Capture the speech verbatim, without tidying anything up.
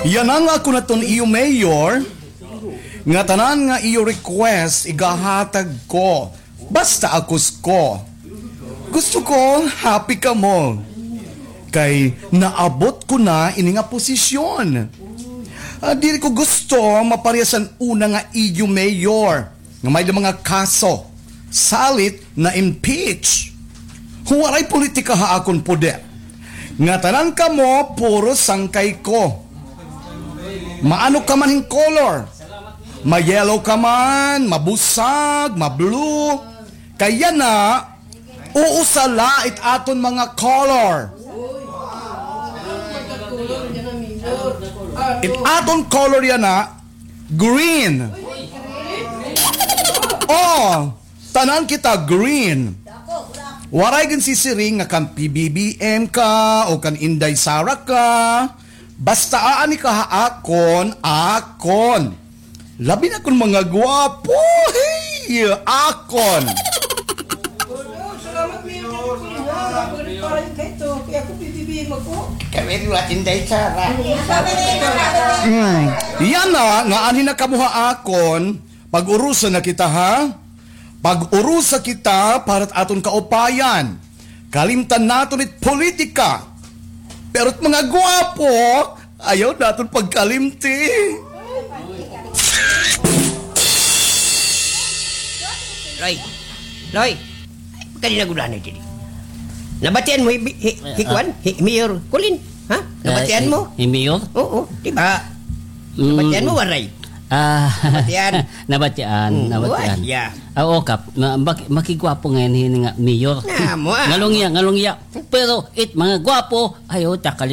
Yana nga ako na ton iyo mayor, nga tanan nga iyo request igahatag ko. Basta ako ko. Gusto ko happy kamo. Kay naabot ko na ini nga posisyon. Ah, diri ko gusto maparehas han una nga iyo mayor. Nga may mga kaso, salit na-impeach. Waray politika ha akon poder. Nga tanan kamo puro sangkay ko. Maano ka man hin color. Ma-yellow ka man, mabusag, ma-blue. Kay yana, uusa la it aton mga color. It aton color yana, green. Oh, tanan kita green. Waray ginsisiring nga kan P B B M ka o kan Inday Sara ka. Basta aani ka ha akon, akon. Labi na kon mga gwapo. Hey, akon. Salamat, Mayor. Kaya ako, P B B M ako. Kami rin, Inday Sara. Mm. Yana, nga anhi na kamo ha akon, pag-urusa na kita, ha? Pag-urusa kita para it aton kaupayan. Kalimtan naton it politika. Pero it mga gwapo, ayaw naton pagkalimti. Loy! Loy! Ay, pagkadinagulanay diri. Nabatian mo hi, hi, hi, kuan? Hi Mayor Colin? Ha? Nabatian mo? Hi, hi Mayor? Oo, di ba? Mm. Nabatian mo, waray? Ah, nabatian. Nabatian, mm, nabatian. Uy, yeah. Ah, oo, Kap. Ma-, maki-, makigwapo ngay-an hini nga mayor. Nga mo, ah. Ngalungya, ngalungya. Pero it mga gwapo, ayaw ta kalimti.